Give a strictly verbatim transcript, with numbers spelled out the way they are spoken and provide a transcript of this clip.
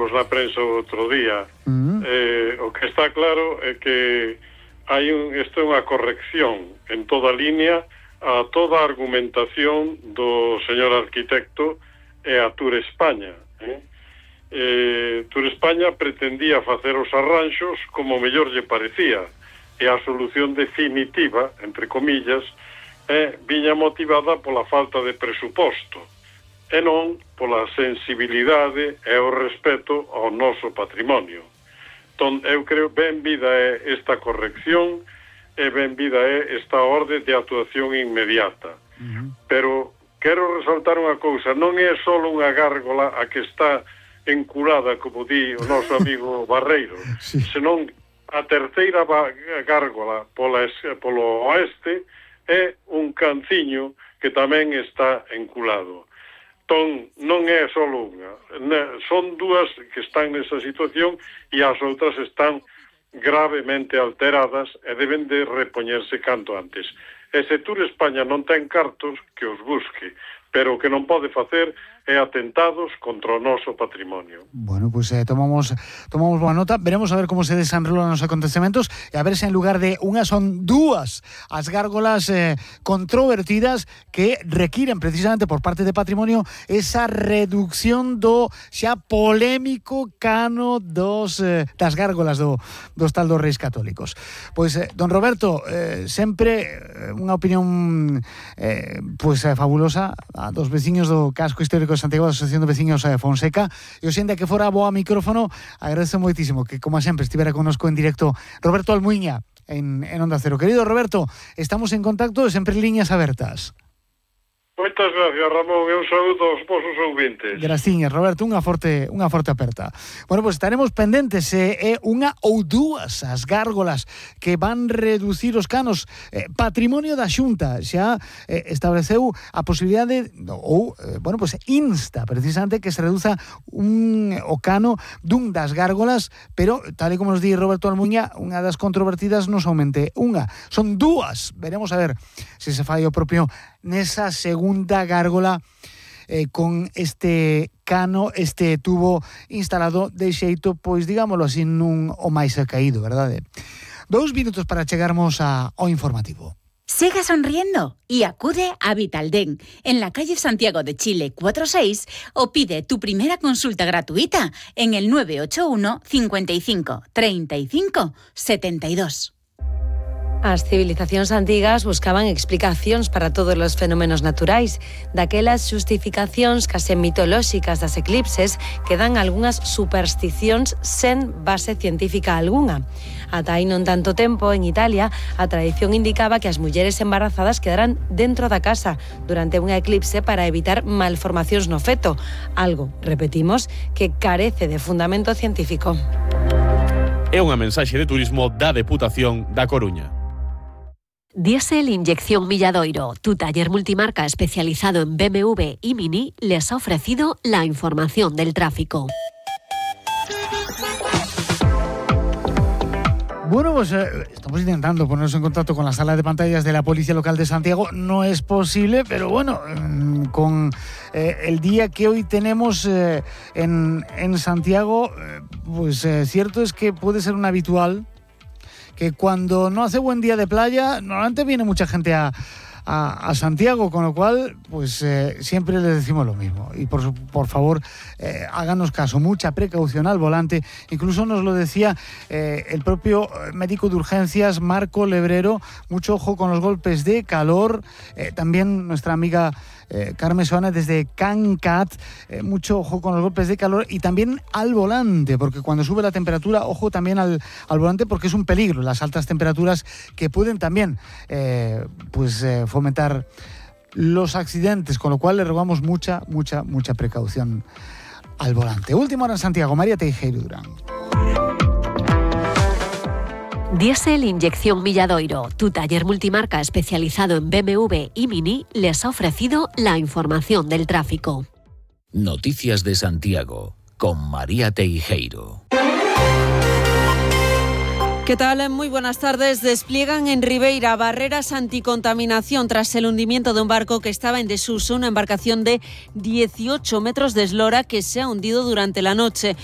vimos na prensa outro día. Uh-huh. Eh, o que está claro é que hai un, isto é unha corrección en toda línea a toda a argumentación do señor arquitecto e a Tour España. Eh? Eh, Tour España pretendía facer os arranxos como mellor lle parecía, e a solución definitiva, entre comillas, eh, viña motivada pola falta de presuposto e non pola sensibilidade e o respeto ao noso patrimonio. Entón, eu creo ben vida é esta corrección e ben vida é esta orde de actuación inmediata. Uh-huh. Pero quero resaltar unha cousa, non é só unha gárgola a que está enculada, como di o noso amigo Barreiro, sí. Senón a terceira gárgola pola, polo oeste é un canciño que tamén está enculado. Entón, non é só unha, son dúas que están nesa situación e as outras están gravemente alteradas e deben de repoñerse canto antes. E se Tour España non ten cartos, que os busque, pero o que non pode facer é atentados contra o noso patrimonio. Bueno, pois pues, eh, tomamos tomamos boa nota, veremos a ver como se desenrolan os acontecementos e a ver se en lugar de unha son dúas as gárgolas eh, controvertidas que requiren precisamente por parte de patrimonio esa reducción do xa polémico cano dos eh, das gárgolas do, dos tal dos Reis Católicos. Pois, eh, don Roberto, eh, sempre eh, unha opinión eh, pois pues, eh, fabulosa a dos veciños do casco histórico de Santiago, da Asociación de Veciños de Fonseca, e o xente que fora boa micrófono, agradezo moitísimo que, como sempre, estivera connosco en directo Roberto Almuiña en, en Onda Cero. Querido Roberto, estamos en contacto e sempre líneas abertas. Moitas gracias, Ramón, e un saúdo aos vosos ouvintes. Graciñas, Roberto, unha forte unha forte aperta. Bueno, pois pues estaremos pendentes, eh, é unha ou dúas as gárgolas que van reducir os canos. Eh, patrimonio da Xunta xa eh, estableceu a posibilidade ou, eh, bueno, pois pues insta precisamente que se reduza un o cano dun das gárgolas, pero tal e como nos di Roberto Almuña, unha das controvertidas non somente unha, son dúas. Veremos a ver se se fai o propio nesa segunda gárgola eh, con este cano, este tubo instalado de xeito, pois digámoslo así, nun o máis caído, verdade? Dous minutos para chegarmos a, ao informativo. Sigue sonriendo y acude a Vitaldent en la calle Santiago de Chile cuatro seis o pide tu primera consulta gratuita en el nueve ocho uno, cincuenta y cinco, treinta y cinco, setenta y dos. As civilizacións antigas buscaban explicacións para todos os fenómenos naturais. Daquelas xustificacións case mitolóxicas das eclipses quedan algunhas supersticións sen base científica algunha. Ata hai non tanto tempo, en Italia, a tradición indicaba que as mulleres embarazadas quedaran dentro da casa durante unha eclipse para evitar malformacións no feto, algo, repetimos, que carece de fundamento científico. É unha mensaxe de turismo da Deputación da Coruña. Diesel Inyección Milladoiro, tu taller multimarca especializado en B M W y Mini, les ha ofrecido la información del tráfico. Bueno, pues eh, estamos intentando ponernos en contacto con la sala de pantallas de la Policía Local de Santiago. No es posible, pero bueno, eh, con eh, el día que hoy tenemos eh, en, en Santiago, eh, pues eh, cierto es que puede ser un habitual que cuando no hace buen día de playa, normalmente viene mucha gente a, a, a Santiago, con lo cual, pues eh, siempre les decimos lo mismo. Y por, por favor, eh, háganos caso, mucha precaución al volante. Incluso nos lo decía eh, el propio médico de urgencias, Marco Lebrero, mucho ojo con los golpes de calor. Eh, también nuestra amiga Eh, Carmen Soana desde CanCat, eh, mucho ojo con los golpes de calor y también al volante, porque cuando sube la temperatura, ojo también al, al volante, porque es un peligro las altas temperaturas que pueden también eh, pues eh, fomentar los accidentes, con lo cual le rogamos mucha, mucha, mucha precaución al volante. Última hora en Santiago, María Teijeiro Durán. Diesel Inyección Milladoiro, tu taller multimarca especializado en B M W y Mini, les ha ofrecido la información del tráfico. Noticias de Santiago, con María Teijeiro. ¿Qué tal? Muy buenas tardes. Despliegan en Ribeira barreras anticontaminación tras el hundimiento de un barco que estaba en desuso, una embarcación de dieciocho metros de eslora que se ha hundido durante la noche.